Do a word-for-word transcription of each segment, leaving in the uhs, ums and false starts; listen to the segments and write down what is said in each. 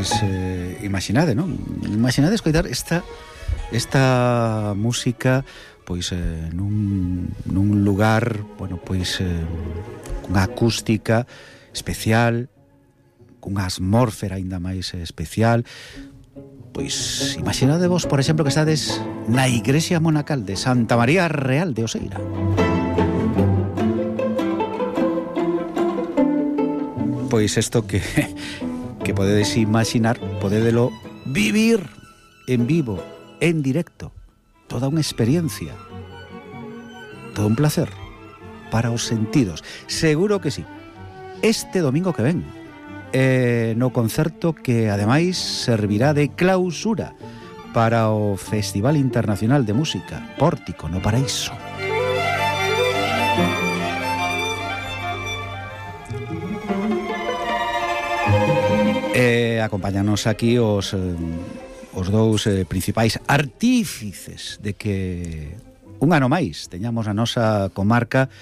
pois eh, imaginade, non? Imaginade escoitar esta esta música pois eh, nun, nun lugar, bueno, pois eh, cunha acústica especial, cunha atmósfera aínda máis especial. Pois imaginade vos, por exemplo, que estades na igrexa monacal de Santa María Real de Oseira. Pois isto que que podedes imaginar, podédelo vivir en vivo, en directo, toda unha experiencia, todo un placer para os sentidos. Seguro que sí. Este domingo que ven, eh, no concerto que ademais servirá de clausura para o Festival Internacional de Música Pórtico no Paraíso. Eh, acompáñanos aquí os, eh, os dous eh, principais artífices de que un ano máis teñamos a nosa comarca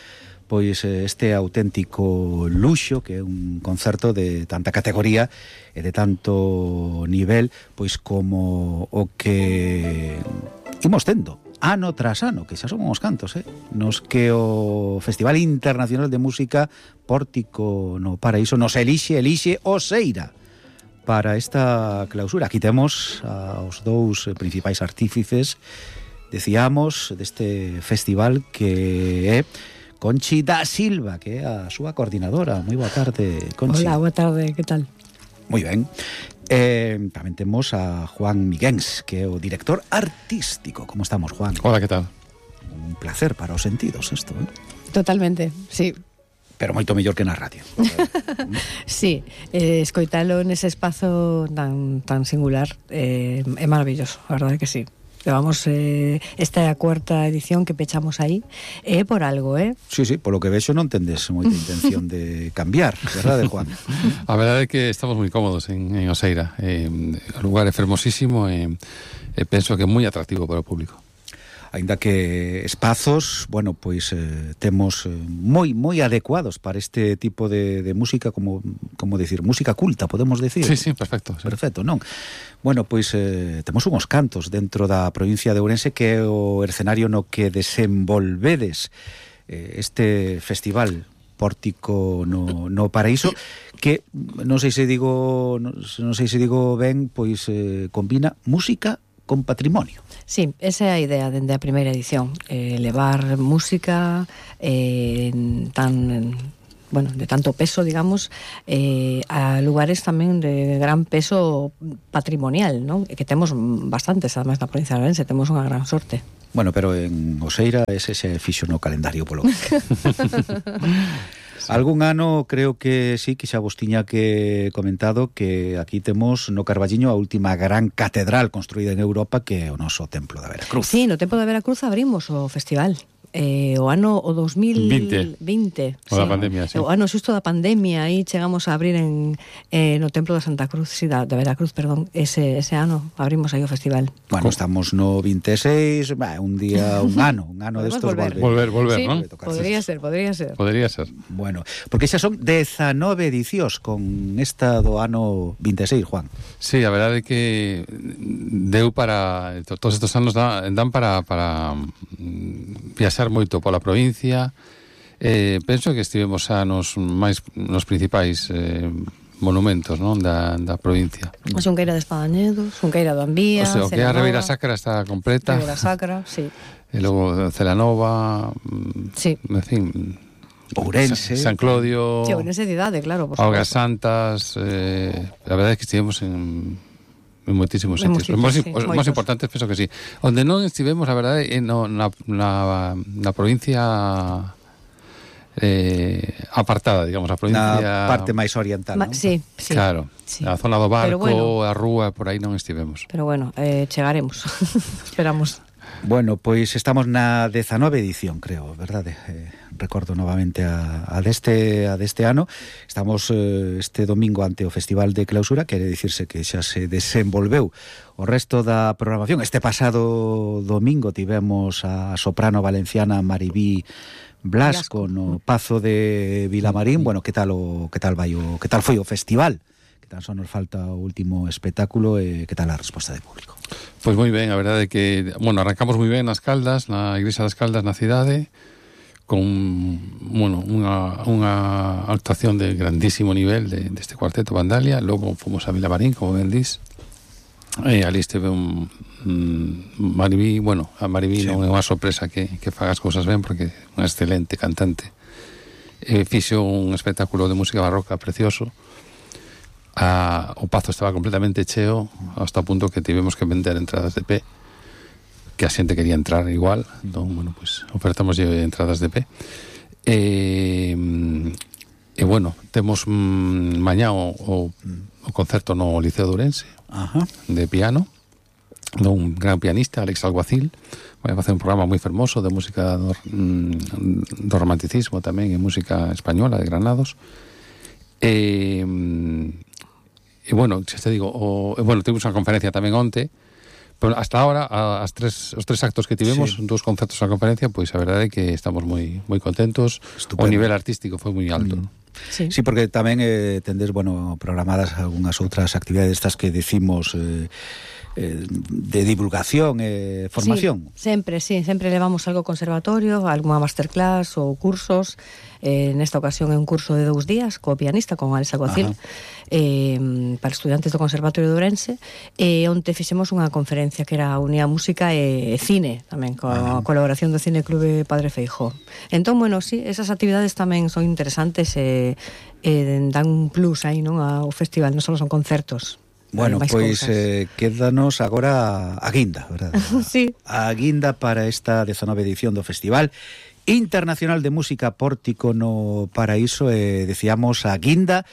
pois este auténtico luxo, que é un concerto de tanta categoría e de tanto nivel, pois como o que imos tendo ano tras ano, que xa son uns cantos, eh? nos que o Festival Internacional de Música Pórtico no Paraíso nos elixe, elixe Oseira para esta clausura. Aquí temos aos dous principais artífices, decíamos, deste festival, que é Conchi da Silva, que é a súa coordinadora. Moi boa tarde, Conchi. Hola, boa tarde, que tal? Moi ben. Eh, tamén temos a Juan Miguens, que é o director artístico. Como estamos, Juan? Hola, que tal? Un placer para os sentidos isto, eh? Totalmente, sí. Pero moito mellor que na radio. Sí, eh, escoitalo nese espazo tan, tan singular eh, é maravilloso, a verdade que sí. Levamos eh, esta é a cuarta edición que pechamos aí, é eh, por algo, eh? Sí, sí, polo que vexo non tendes moita intención de cambiar, verdade, Juan? A verdade é que estamos moi cómodos en, en Oseira. Eh, o lugar é fermosísimo e eh, penso que é moi atractivo para o público. Ainda que espazos, bueno, pois eh, temos eh, moi moi adecuados para este tipo de, de música, como como decir, música culta, podemos decir. Sí, sí, perfecto. Sí. Perfecto, non? Bueno, pois eh, temos unhos cantos dentro da provincia de Ourense, que é o escenario no que desenvolvedes eh, este festival Pórtico no, no Paraíso, que non sei se digo non, non sei se digo ben, pois eh, combina música con patrimonio. Sí, esa é a idea dende a primeira edición, eh, levar música eh, tan, bueno, de tanto peso, digamos, eh, a lugares tamén de gran peso patrimonial, non? Que temos bastantes, además, na provincia de Ourense, temos unha gran sorte. Bueno, pero en Oseira ese se fixo no calendario polo que algún ano creo que sí, que xa vos tiña que comentado que aquí temos no Carballiño a última gran catedral construída en Europa, que é o noso Templo da Veracruz. Sí, no Templo da Veracruz abrimos o festival. Eh, o ano o dos mil vinte, o sí. da pandemia, sí. O ano xusto da pandemia, aí chegamos a abrir en eh, no Templo da Santa Cruz, sí, da, da Veracruz, perdón, ese, ese ano abrimos aí o festival. Bueno, estamos no vinte e seis, bah, un día, un ano, un ano destos volver. Volver, volver, sí, ¿no? Podría ser, podría ser. Podría ser. Bueno, porque xa son dezanove edicións con esta do ano vinte e seis, Juan. Sí, a verdade é que deu para todos estos anos dan para para viaxar moito pola provincia. Eh, penso que estivemos xa nos máis nos principais eh, monumentos, non, da, da provincia. A Xunqueira de Espadañedo, Xunqueira do Ambía, o sea, o que é a Ribeira Sacra está completa. Ribeira Sacra, sí. E logo Celanova, sí. En fin, Ourense, San Clodio, sí, Ourense cidade, claro, por Augas Santas, eh, a verdade é que estivemos en en moitísimos sitios. Os sí, máis importantes penso que sí. Onde non estivemos, a verdade, é no, na, na, na provincia eh, apartada, digamos, a provincia... Na parte máis oriental, Ma, non? Sí, sí. Claro, sí. A zona do barco, bueno, a rúa, por aí non estivemos. Pero bueno, eh, chegaremos. Esperamos. Bueno, pois estamos na dezanove edición, creo, verdade? Eh, recordo novamente a, a, deste, a deste ano. Estamos eh, este domingo ante o Festival de Clausura, quere dicirse que xa se desenvolveu o resto da programación. Este pasado domingo tivemos a soprano valenciana Maribí Blasco no Pazo de Vilamarín. Bueno, que tal o que tal vai o que tal foi o festival? Que que tan só nos falta o último espectáculo, e eh, que tal a resposta do público? Pois moi ben, a verdade é que, bueno, arrancamos moi ben nas Caldas, na Igrexa das Caldas na cidade, con, bueno, unha, unha actuación de grandísimo nivel de, deste cuarteto Vandalia. Logo fomos a Vilamarín, como ben dís, e ali esteve un, un Maribí, bueno, a Maribí sí. Non é unha sorpresa que, que faga as cousas ben, porque é unha excelente cantante. E fixo un espectáculo de música barroca precioso. A, o pazo estaba completamente cheo, hasta o punto que tivemos que vender entradas de pé, que a xente quería entrar igual. Entón, bueno, pues ofertamos entradas de pé. E, e bueno, temos mm, mañá o, o, o concerto no Liceo de Ourense. Ajá. De piano, dun gran pianista, Alex Alguacil. Vai facer un programa moi fermoso de música do, do romanticismo tamén, e música española de Granados. E, e bueno, xa te digo, o, e, bueno, temos unha conferencia tamén onte, pero hasta ahora as tres, os tres actos que tivemos, sí. Dos concertos na conferencia, pois a verdade é que estamos moi moi contentos. Estupendo. O nivel artístico foi moi alto. Mm. Sí. Sí, porque tamén eh, tendes, bueno, programadas algunhas outras actividades estas que decimos eh, eh, de divulgación e eh, formación. Sí, sempre, sí, sempre levamos algo conservatorio, algunha masterclass ou cursos. Eh, nesta ocasión é un curso de dous días co pianista, con Alex Alguacil, eh, para estudantes do Conservatorio de Ourense, e onte fixemos unha conferencia que era Unía Música e, e Cine, tamén coa colaboración do Cine Clube Padre Feijó. Entón, bueno, sí, esas actividades tamén son interesantes e, e dan un plus aí, non, ao festival, non só son concertos. Bueno, pois eh, quédanos agora a guinda, verdad? Sí. A guinda para esta dezanove edición do Festival Internacional de Música Pórtico no Paraíso, e eh, decíamos a guinda,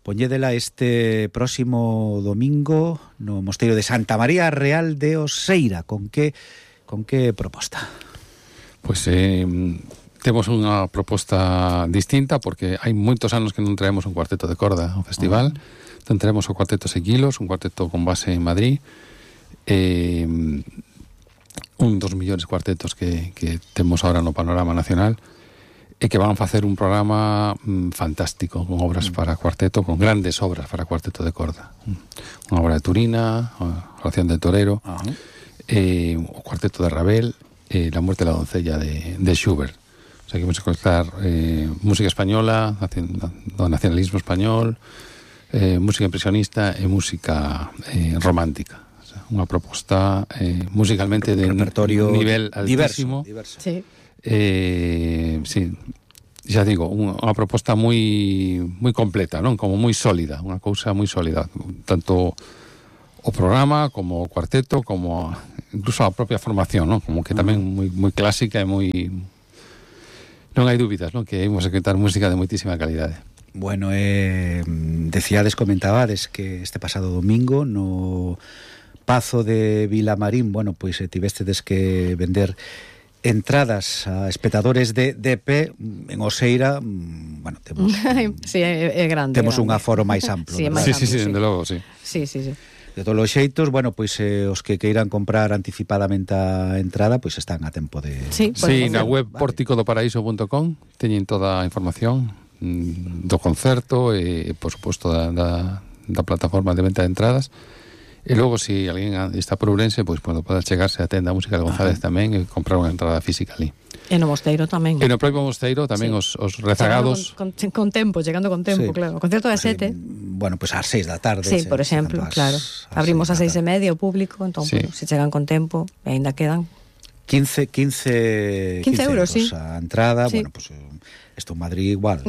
poñédela este próximo domingo no Mosteiro de Santa María Real de Oseira. Con que, con que proposta? Pois eh, temos unha proposta distinta, porque hai moitos anos que non traemos un cuarteto de corda ao festival. Uh-huh. Entón traemos o cuarteto Sequilos, un cuarteto con base en Madrid, eh, un dos millores cuartetos que, que temos ahora no panorama nacional, e que van facer un programa mm, fantástico, con obras mm. para cuarteto, con grandes obras para cuarteto de corda. Mm. Unha obra de Turina, a Oración del Torero, uh-huh. eh, o cuarteto de Ravel, eh, La muerte de la doncella de, de Schubert. O sea, que vamos a escoitar eh, música española, do nacionalismo español, eh, música impresionista e música eh, romántica. O sea, unha proposta eh, musicalmente de repertorio nivel altísimo. Diverso, diverso. Sí. Eh, sí, xa digo, unha proposta moi moi completa, non? Como moi sólida, unha cousa moi sólida, tanto o programa como o cuarteto, como incluso a propia formación, non? Como que tamén moi moi clásica e moi, non hai dúbidas, non? Que imos a escoitar música de moitísima calidade. Bueno, eh, decíades, comentabades que este pasado domingo no Pazo de Vilamarín, bueno, pois pues, tivestedes que vender entradas a espectadores de, de pé. En Oseira, bueno, temos sí, é, é grande, temos grande. un aforo máis amplo. Sí, sí, sí, sí, sí, de logo, sí. Sí, sí, sí. De todos os xeitos, bueno, pois eh, os que queiran comprar anticipadamente a entrada, pois están a tempo de... Sí, sí, na web vale. portico do paraíso punto com teñen toda a información do concerto e, por suposto, da, da, da plataforma de venta de entradas. E logo, se si alguén está por Ourense, pois, bueno, pode chegarse a tenda Música de González Ajá. tamén e comprar unha entrada física ali. E no Mosteiro tamén. E no propio Mosteiro tamén sí. os, os rezagados... Con, con, con tempo, chegando con tempo, sí. claro. O concerto é sete. Bueno, pois pues ás seis da tarde. Sí, por exemplo, as, claro. Abrimos ás seis e media o público, entón, sí. bueno, se chegan con tempo, e ainda quedan... quince, quince, quince euros, euros sí. a entrada, sí. bueno, pues esto en Madrid igual.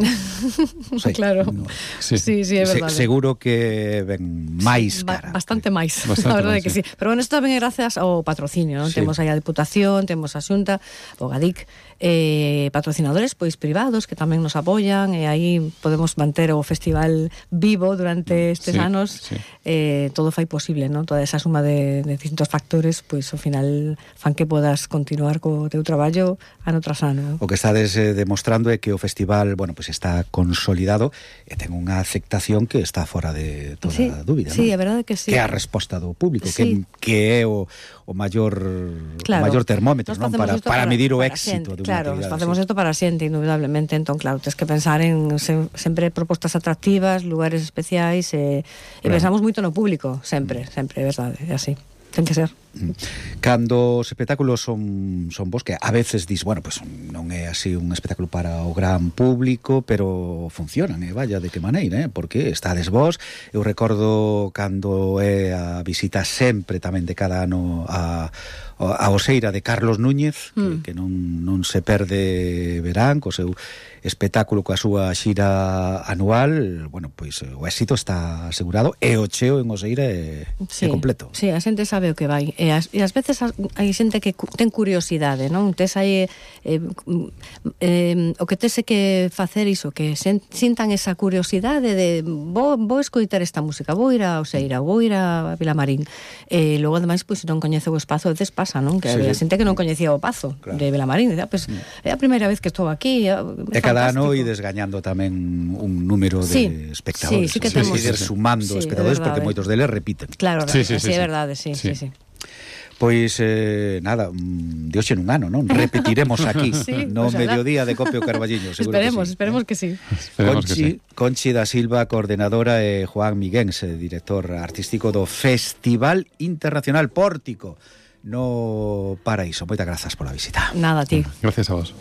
O sea, claro. No, sí, sí, sí, é verdade. Se, seguro que ven máis cara. Ba bastante máis, bastante a verdade máis, que sí. sí. Pero bueno, isto tamén é gracias ao patrocinio, non? Sí. Temos aí a Diputación, temos a Xunta, o Gadic, eh, patrocinadores pois privados que tamén nos apoian, e aí podemos manter o festival vivo durante estes sí, anos. Sí. Eh, todo fai posible, non? Toda esa suma de, de distintos factores, pois ao final fan que podas continuar co teu traballo ano tras ano. O que estades eh, demostrando é que o o festival, bueno, pues está consolidado e ten unha aceptación que está fora de toda sí, dúbida, sí, non? é verdade que sí. Que é a resposta do público, sí. que, que é o, o maior claro, o maior termómetro, non? Para, para, para medir o para éxito xente, de unha claro, actividade. Facemos isto para a xente, indudablemente. Entón, claro, tens que pensar en se, sempre propostas atractivas, lugares especiais, e, e claro. pensamos moito no público, sempre, sempre, é verdade, é así. Ten que ser. Cando os espectáculos son, son vos, que a veces dis, bueno, pues non é así un espectáculo para o gran público, pero funcionan, e eh? Vaya, de que maneira, eh? Porque estades vos. Eu recordo cando é a visita sempre tamén de cada ano a, a Oseira de Carlos Núñez, mm. que, que non, non se perde verán, co seu espectáculo coa súa xira anual. Bueno, pois o éxito está asegurado e o cheo en Oseira é, sí, é completo. Sí, a xente sabe o que vai. E as, e as veces hai xente que ten curiosidade, non? Tes aí eh, eh, o que tese que facer iso, que sen, sintan esa curiosidade de vou, vou escoitar esta música, vou ir a Oseira, vou ir a Vilamarín. E logo, ademais, pois, se non coñece o espazo, a veces pasa, non? Que sí, había xente que non coñecía o pazo, claro, de Vilamarín. Decía, pues, é a primeira vez que estou aquí. É, e cada ano ides gañando tamén un número de sí, espectadores. Sí, sí que temos. Ir sumando sí, espectadores, porque moitos deles repiten. Claro, sí, sí, sí, sí, é sí. verdade, sí, sí, sí. sí. Pois, eh, nada, de hoxe nun ano, non? Repetiremos aquí, sí, no pues mediodía de Copio Carballiño, seguro esperemos, que sí. Esperemos que sí. Esperemos Conchi, que sí. Conchi da Silva, coordenadora, e Juan Miguéns, director artístico do Festival Internacional Pórtico no Paraíso. Moitas grazas pola visita. Nada, ti. Gracias a vos.